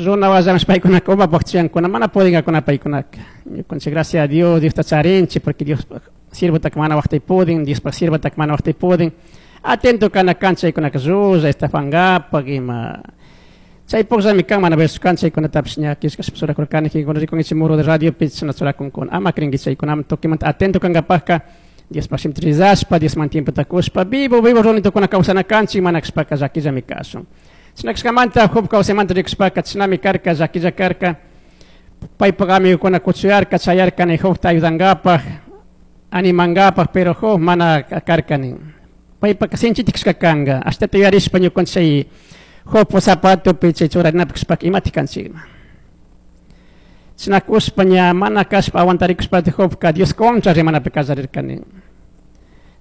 Runa washapish paykunaka umapaj chuyankuna, mana pudingakuna paykunaka. Ñukanchik, gracias a Dios, Diosta charinchik, porque Dios siervotaka mana waqtay pudin, Diospaj siervotaka mana waqtay pudin. Atento kana kan chaykunaka llulla estafangapak ima. Chay pukllami kan, mana verso kan chaykunatapish ña killkashpa churakurkani, kikinkuna rikunkichik muro de radiopi chashna churakunkuna. Ama crinki chaykunaman tukimanta atento kankapakka Diospaj shimita rezashpa, Diosman tiempota kushpa, vivo, vivo runitokuna kawsana kanchik, mana kashpaka llakillami kashun. Chashna kashkamanta Job kawsaymanta rikushpaka chashnami karka, llakilla karka. Paypak amigokuna kuchuyarka, chayarka ni Jobta ayudangapak, animangapak, pero Job mana karka nin. Paypak sinchita kashka kanka. Ashtata yuyarishpa ñukanchik chay Jobpa zapatopi chay churarinapi kashpaka imatik kanchikman. Chashna kushpa ña mana kashpa aguantarikushpa Jobka Dios contra rimanapi kallarirka nin.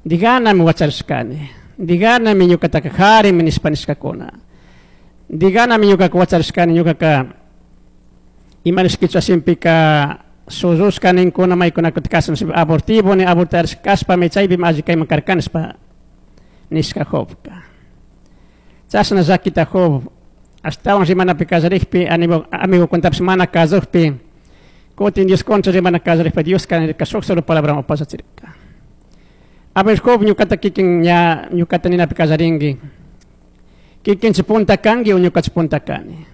Diganami wacharishkani. Diganami ñukataka jarimi nishpa nishkakuna. Diganami ñukaka wacharishkani, ñukaka ima nishkichu shimpika shullushka ninkuna maykunaka kasan abortivo ni abortarishka kashpami chaypimi alli kayman karkani nishpa nishka Jobka. Chashna llakita Job ashtawan rimanapi kallarikpi, amigokunatapish mana kazukpi, kutin Dios contra rimana kallarikpi Dioska nirka shuk solo palabrawan upallachirka. A ver, Job, ñukata kikin ña ñukata ninapi kallarinki. Kikinchi punta kanki o ñukachi punta kani.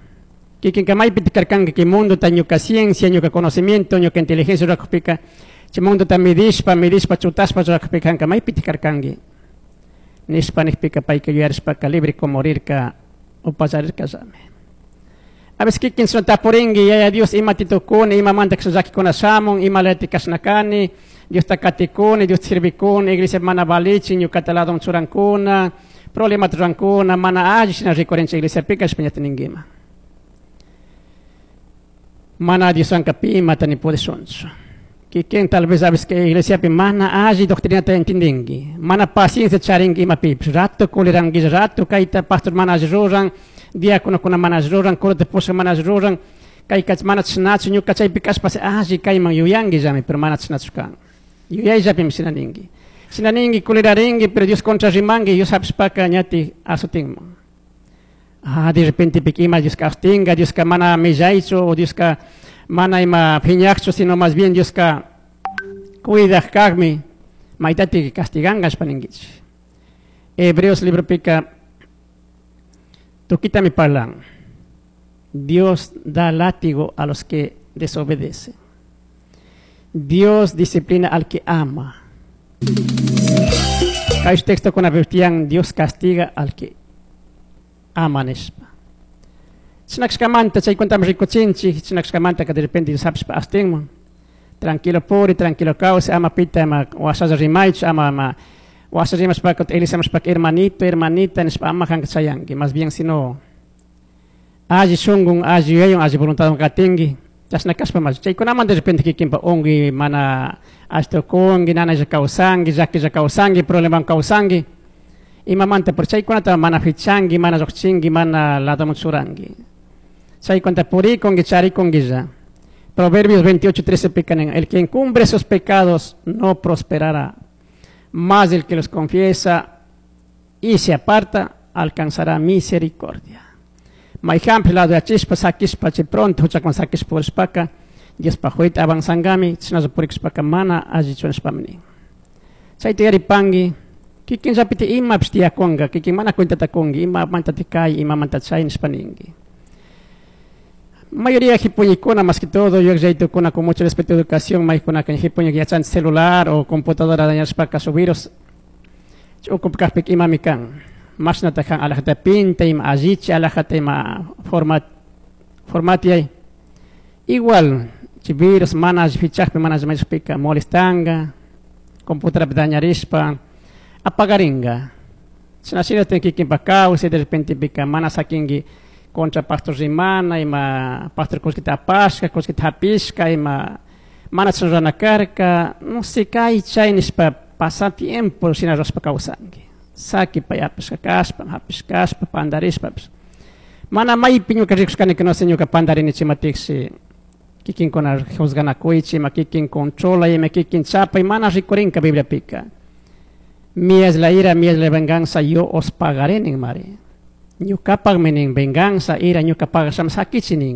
Kikinka maypi karkanki kay mundota ñuka ciencia, ñuka conocimiento, ñuka inteligencia rurakupika, chay mundota midishpa, midishpa, chutashpa rurakupika kanka maypi karkanki. Nishpa nikpika payka yuyarishpaka libre como rirka upallarirka llami. A veces kikin sino tapurinki, Yaya Dios, imati tukuni, imamanta kasha llakikuna shamun, imalati kashna kani, Diosta katikuni, Diosta sirvikuni, iglesia mana valichin, ñukata ladon churankuna, problemata rurankuna, mana alli shina rikurinchik iglesiapika nishpa ñata ninkima. Mana Dioswanka pi imata ni pudishunchu. Kikin tal vez a veces que iglesiapi mana alli doctrinata entendinki, mana paciencia charinki imapipish, rato culiranki, rato kayta pastor mana alli ruran, diáconokuna mana alli ruran, curata pushak mana alli ruran, kayka mana chashnachu, ñuka chaypi kashpa alli kayman yuyanki llami, pero mana chashnachu kan. Yuyayllapimi shina ninki. Shina ninki, culirarinki, pero Dios contra rimanki, Dios hapishpaka ñati azotinman. Ah, de repente pika ima Dioska azotinka, Dioska mana millaychu, o Dioska mana ima phiñakchu, sino más bien Dioska cuidak kakmi, maytati castiganka nishpa ninkichik. Hebreos libropika tukitami parlan. Dios da látigo a los que desobedecen. Dios disciplina al que ama. Kay texto con tiyan Dios castiga al que ama nishpa. Chinakshkamanta chaykuntami rikuchinchik, chinakshkamanta que de repente Dios hapishpa astinman. Tranquilo puri, tranquilo kawsay, ama pita ama washalla rimaychu, ama ama washa rimashpaka elisamashpaka hermanito, hermanita nishpa ama kanka chayanki, más bien sino alli shungun, alli yuyaywan, alli voluntadwan katinki. Chashna kashpa mas chaykunaman de repente kikinpa unki, mana ashtukunki, nanaylla kawsanki, llakilla kawsanki, probleman kawsanki. Imamanta por chaykunata mana fichanki, mana lluqchinki, mana ladoman churanki. Chaykunata purikunki, charikunki. Proverbios 28:13 pika nin, el que encumbre sus pecados no prosperará, mas el que los confiesa y se aparta alcanzará misericordia. Mayhanpish lado yachishpa, sakishpa, chay pronto huchakuna sakishpa purishpaka, Diospaj huyta avanzangami, chashnalla purikushpaka mana allichu nishpami nin. Chayta yaripanki, kikinllapiti imapish tiyakunka, kikin mana cuentata kunki, imamanta kay, imamanta chay nishpa ninki. Mayoría hipuñikuna, más que todo, yuyaytukuna con mucho respeto a educación, maykunaka hipuñik yachan celular o computadora dañashpaka su virus, ukupkajpika imami kan. Mashnata kan alajata pinta, ima allichi, alajata ima formatiay. Igual, chi virus mana alli fichakpi, mana alli mayashpika molestanga, computadora dañarishpa, apagaringa. Chashna shina kikinpak kawsay, de repente pika mana sakinki contra pastor rimana, ima pastor kullkita apashka, kullkita hapishka, ima mana chashna rurana karka, no sé, kay chay nishpa pasa tiempo shina rurashpa kawsanki. Saki pay apashka kashpa, hapishka kashpa, pandarishpapish. Mana maypi ñuka rikushkani que no sé ñuka pandarini chimatiksi, kikinkuna juzganakuychi, ima kikin controla, ima kikin chapay, mana rikurinka Bibliapika. Mía es la ira, mía es la venganza, yo os pagaré nin mari. Ñukapakmi nin venganza, ira, ñuka pagasham sakichi nin.